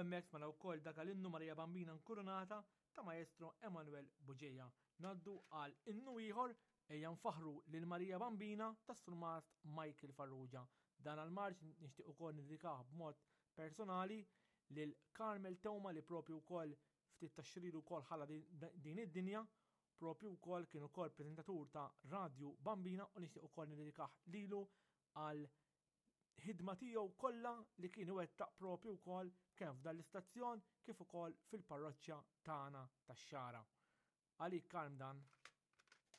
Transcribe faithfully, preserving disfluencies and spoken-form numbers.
hemmhekk smajna wkoll dak l-innu Marija Bambina Nkurunata ta' Maestro Emanuel Bugeja. Ngħaddu għal innu ieħor, Ejja Nfaħru lil Marija Bambina, ta' Surmast Michael Farrugia. Dan għal-marċ nixtieq ukoll niddedikah b'mod personali lil Carmel Teuma, li propju wkoll ftit tax-xhur ilu wkoll ħalla din id-dinja, propju wkoll kien ukoll preżentatur ta' Radio Bambina, u nixtieq ukoll niddedikah lilu għal ħidma tiegħu kollha li kien iwettaq propju wkoll kemm f'dan l-istazzjon kif ukoll fil-parroċċa tagħna tax-Xagħra. Għalik, Karm, dan.